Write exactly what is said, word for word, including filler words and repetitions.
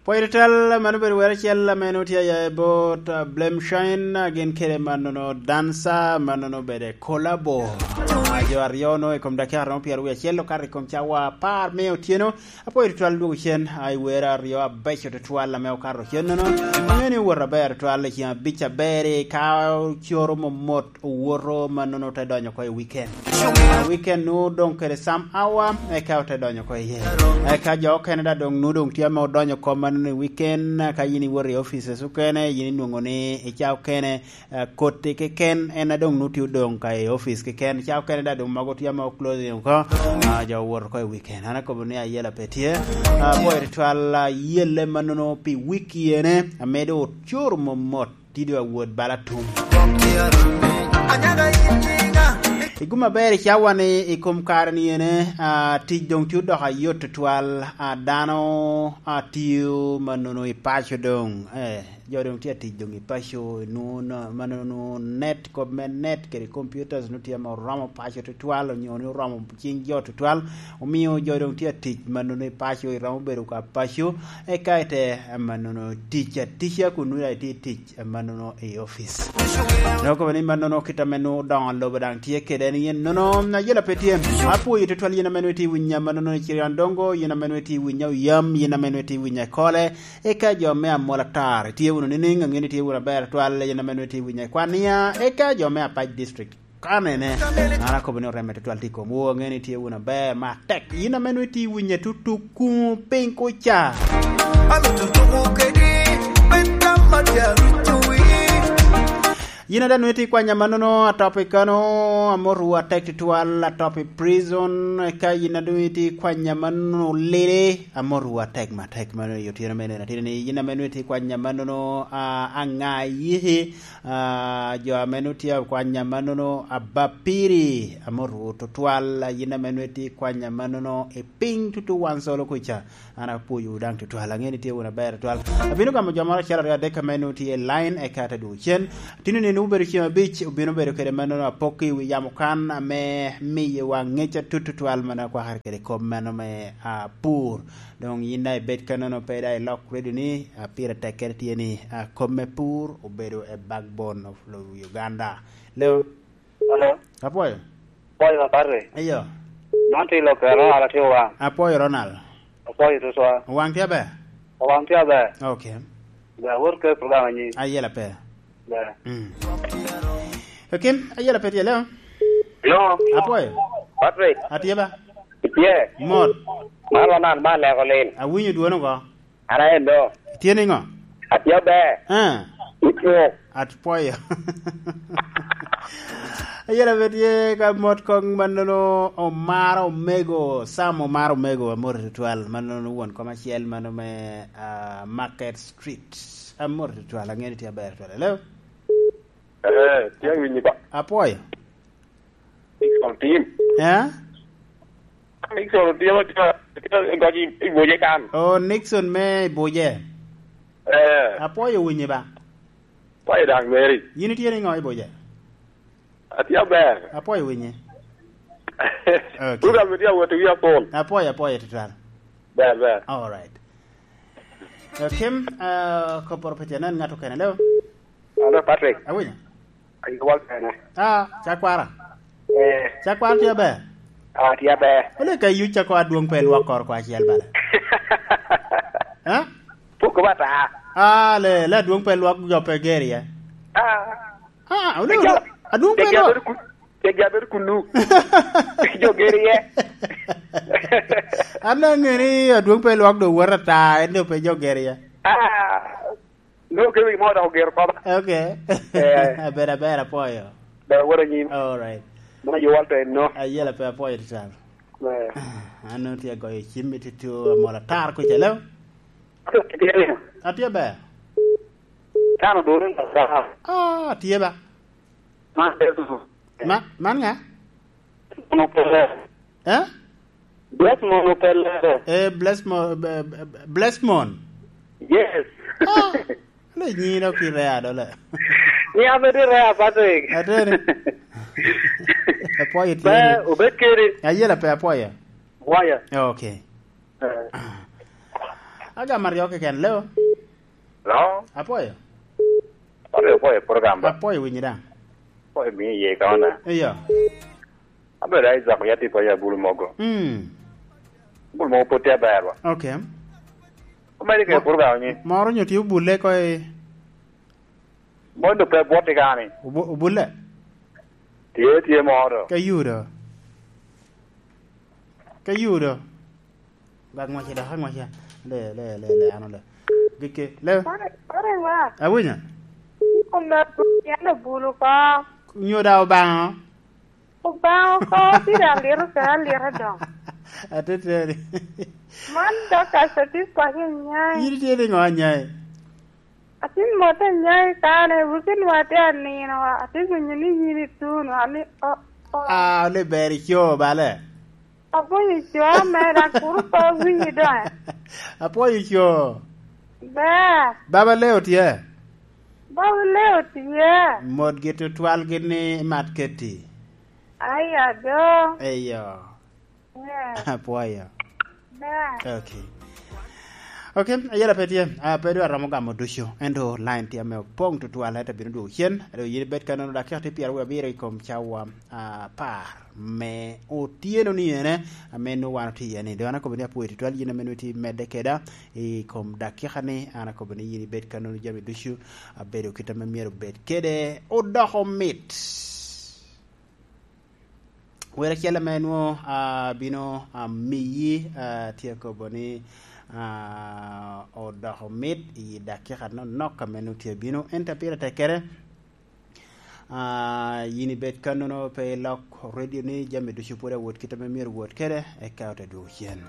Poirital mano bedo wer acel meno tye aye bot Blem Shine gin kede manono dansa manono bede kolabo jo aryo no i kom dakika romo pyero wiye acel okato i kom cawa apar me otyeno apoyo tutwal dwogo cen ai wer aryo abeco tutwal ame okato cen nono ang'e ni owuoto aber tutwal i ceng abic aber-ri ka coro momot owoto manono te donyo ko i weekend weekend nu dong kede some hour eka ote donyo ko iye eka jo okene da dong nu dong tye ame odonyo ko manono i weekend ka in iwoto i offices okene in inwongo ni i ca okene koti keken en dong nu tye odong ka i office keken ca okene da dong mogo tye ame oclosing oko jo owoto ko i weekend an akobo ni ayela pe tye apoyo tutwal yelle manono pi week yene amedo ocoro momot tido awod bala tum Igum aber i cawa ni i kom kare ni ene tic dong tye odoko ayot tutwal dano tiyo manono i paco dong eh jo dong tye atic dong i paco manono net kop me net kede computers nongo tye ma oromo paco tutwal onyo ni oromo cing jo tutwal omiyo jo dong tye atic manono i paco iromo bedo ka paco eka ite manono tic atica kun nongo itye tic manono i office. Noko ni manono kita meno odongo lobo dang tye kede ni yen nono ayela pe tye. Apuoyo tutwal yen ameno iti winya manono i Cirion Dongo yen ameno iti winya Oyam yen ameno iti winya Kole eka jo me Amola Tar itye wunu nining ange ni tye wunu aber twal yen ameno iti winya Kwania eka jo me Apac District kanene an akobo ni oreme tutwal tye i komwu ange ni tye wunu aber matek yin ameno iti winya tutuku piny kuca. Yin ada nongo itye kwanya manono atop i kano amoto atek tutwal atop i prison eka yin ada nongo itye kwanya manono lili amoto atek matek mano i otyeno me neno atye ni yin ame nongo itye kwanya manono anga yihi jo ame nongo tye kwanya manono abapiri amoto tutwal yin ame nongo itye kwanya manono i piny tutu wan solo kuca an apwoyo dang tutwal ange ni tye wun aber tutwal abino gamo jo moro achiel ariyo adek ame nongo tye i line eka ate dwogo cen tino ni obedo ceng abic obino bedo kede manono apok i wi yamo kan ame miyowa ngec atut tutwal mana kwakare kede kom meno me pur dong in da ibed ka nono pe da ilok radio ni pire tek kede tye ni kom me pur obedo a backbone of Uganda leo Hello. apwoyo Apwoyo ma Patrick. iyo Man tye lok Ronald atye owang. apwoyo Ronald Apwoyo tutwal. owang tye aber Owang tye aber. okay Ber wot ke program anyi. ayela pe Ber. Mm. Okay, ayela pe tye leo Hello. apwoyo Patrick. atye ba Itye. mot Man Ronald ma leko lin. awinyo dwono ko An aye do. tye ni ngo Atye aber. Eh, Itye. atwoyo ayela pe tye ka mot kong manono omaro omego Sam omaro omego amoti tutwal manono won kom acel mano me uh, Market Street amoti tutwal ang'e ni tye aber tutwal hello Eh, tye winyi ba. apwoyo Nixon team. eh Nixon team tye goji ibuje kan. o Nixon me ibuje Eh, apwoyo winyi ba pa idang Mary. yin itye ni ngo ibuje Atye aber. apwoyo winyi Okay. Program tye awuoto wi apol. apwoyo apwoyo tutwal Ber ber. all right okay uh, koporo pe tye nen ng'ato kene leo Hello Patrick. awinyo Ayi wal kene. ah chakwara Eh, chakwara tye aber atye aber. ole ka yuc chakwara duong pe lwok kor ko achiel bale eh Puko bata. ah le le duong pe lwok jo pe geri eh Ah. ah ole ole aduong pe lwok Tegi aber kunu. Jo geri ye. an ang'e ni aduong pe lwok do wuot ata en do pe jo geri ye Ah. No ke wi mo da gero ko ba. okay Eh. aber aber apoyo Ber wora nyim. all right Mana yo wal to no. ayiela pe apoyo tutwal Eh. an tye goyo cim tutu amola tar kuca leo atye ber Tano do rin sa. ah tye ba Ma ma man nga no pele. eh Bless mo no pele. eh bless mo eh, bless mon Yes. ah le nyino ki rea do le Ni abedi rea Patrick. Atene. apoyo Be tye obed keri. ayiela pe apoyo Waya. okay Eh. Aga Mario keken leo. No. Apoyo. Ore po program ba. Apoyo winyi da. Po mi ye ka ona. Iyo. Abe Isaac yati po ya bulu mogo. Mm. Bulu mogo pote berwa. Okay. Omeri ke program ni. Moro nyo tiyo bule ko e Mondo pe boti gani. ubu- ubule. Tie tie moro. Ka yudo. Ka yudo. Bag mo siya, mo siya. Le le le le ano le. Gike le. Ore wa. Awinya. Kome yana bulu ka. Nyo da obang. Obang ko tira liro ka liro dong. Atete. Man do ka satisfaction nyai. Yiri tiye ngo nyai. Atin mote nyai kane wukin wate anino atin nyini yini tunu ani o o. Ah, le beri chio bale. Apoyo chio mera kuru pa winyi do. Apoyo chio. Ba. Baba leo tie. Baba leo tie. Mod gitu twal gini mat keti. Aya do. Eyo. Yeah. Apoyo. Ba. Okay. Okay, ayera petie. A pedo aramo gamo dusho. Endo line tie me pong tu twal heta binu du chien. Ero yiri bet kanono da kerte pier we biro ikom chawa a par me otieno ni ene ameno wano ti ene. Do ana kobeni apu twal yina menu ti mede keda i kom dakika ni ana kobeni yiri bet kanono jami dushu abedo kita me miero bet kede odoko mit. Wera chielo ma enwo uh, bino uh, miyi uh, tie koboni uh, odoko mit i dakika no nok ka meno tie bino enta pire tekere uh, yini bet kanono pe lok radio ni jami ducu pud awot kita me myero wot kede eka ote duogo cien.